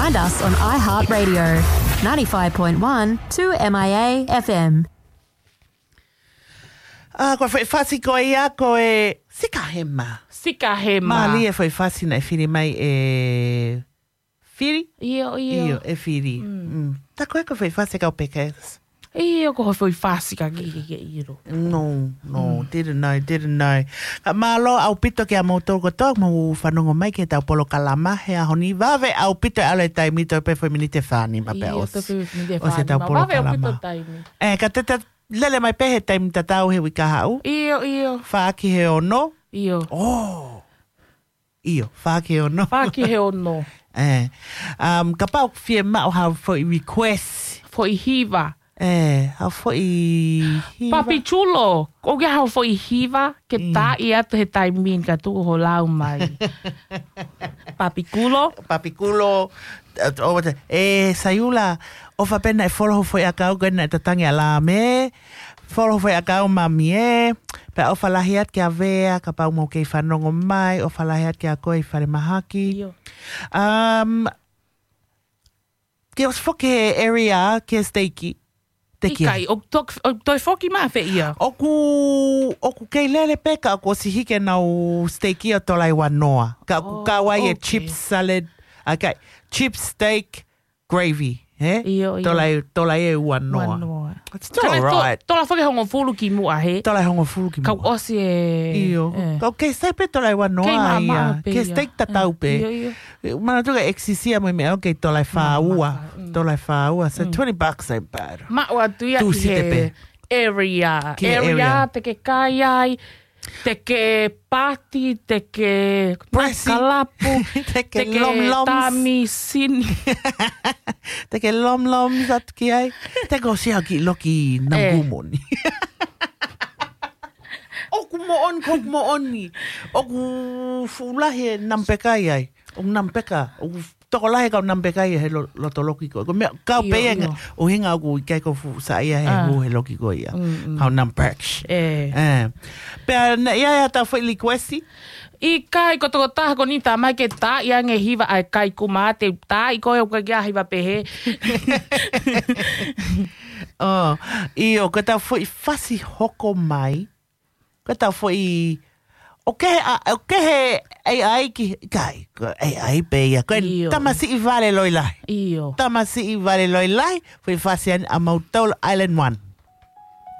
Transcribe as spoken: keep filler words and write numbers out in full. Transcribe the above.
And us on iHeartRadio, ninety-five point one two M I A F M. A, ko e foʻi fasi ko ia ko e Sika Hema. Sika Hema. Mālie e foʻi fasi naʻe fili mai e Fili? Io, io. Io, e Fili. Mm. Mm. Ta ko e ko e foʻi fasi kau pekes. Io, ko e foʻi fasi ka ki ki ki iro. No, no, mm. Didn't know, didn't know. Ka mālō ʻaupito kia moutolu kotoa, mou fanongo mai ki heʻetau polokalama he ʻaho ni, vave ʻaupito e ʻalu e taimi, toe pē foʻi miniti ʻe fā nima pē. Io, ʻosi. Toe pē foʻi miniti ʻe fā nima. Vave ʻaupito taimi. E, ka te ta lele mai pē he taimi tatau he uike kahaʻu. Io, io. Fā ki he ono. Io. Oh. Io, fā ki he ono. Fā ki he ono. E, um, kapau ʻoku fiemaʻu ha foʻi request. Foʻi hiva. E, ha foʻi hiva. Papi Chulo, ʻoku ʻi ai ha foʻi hiva ke mm. Taaʻi atu he taimi ni ka tuku ho lau mai. Papi Kulo. Papi Kulo, e, ʻo, e, Saiula, ʻofa pē naʻe folo ho foʻi ʻakau ko ē naʻe tatangi ʻa Lame, folo ho foʻi ʻakau mami e, pea ʻofa lahi atu kia Vea, kapau mou kei fanongo mai, ʻofa lahi atu kia koe ʻi Falemahaki. Io. Um, ke ʻosi foki he area, ke steiki, te kia. ʻIkai, ʻoku tok-, ʻoku toe foki mai fē ia? ʻOku, ʻoku kei lele pē ka ʻoku ʻosi hiki ʻenau steiki ʻo Tolai Uanoa. Ka ʻoku oh, kau ai e okay. Chips salad, okay, chips steak, gravy, he? Io, io. Tolai, Tolai e Uanoa. Uanoa. It's still alright. Tola foki hongofulu ki muʻa, he? Tola hongofulu ki muʻa. Kau ʻosi e. Io. E. Kau kei sai pē Tolai Uanoa. Kei mamaʻo pē ia. Kei steak tatau pē. Io, io. Manatu ka eksisia mo e meʻa ʻoku kei Tolai fā ua. Mm. Tolai fā ua. So mm. Twenty bucks ain't bad. Maʻu atu ia ki he area. Ki he area. Area te ke kai ai. Te ke pati, te ke presi, makalapu, te ke lomloms. Tami sini. Te ke lomloms atu ki ai. Te ko sia ki loki na e. Gumoni. ʻOku moʻoni, ʻoku moʻoni. ʻOku fuʻu lahi e namba peka ai. ʻOku namba peka, ʻoku tokolahi kau namba peka ia he lo-, loto loki ko. Ko meʻa, kau io, pē ia io. Nga, ʻuhinga ʻoku ʻikai ko fuʻu saʻia he ah. Hū he loki ko ia. Mm, mm. Kau namba peka. E. E. Pea naʻe ʻi ai haʻatau foʻi likuesi? ʻIkai ko toko taha ko ni tā mai ke taaʻi ange hiva ʻa e kaikuma te taaʻi ko e uka kia hiva pehē. Oh, ʻio, ko ʻetau foʻi fasi hoko mai. Ko ʻetau foʻi, ʻoku kehe a, ʻoku kehe A I ki, kai, ko A I pē ia. Ko e io. Tamasiʻi vale loi lahi. Io. Tamasiʻi vale loi lahi, foʻi fasi ʻa mautolu Island One.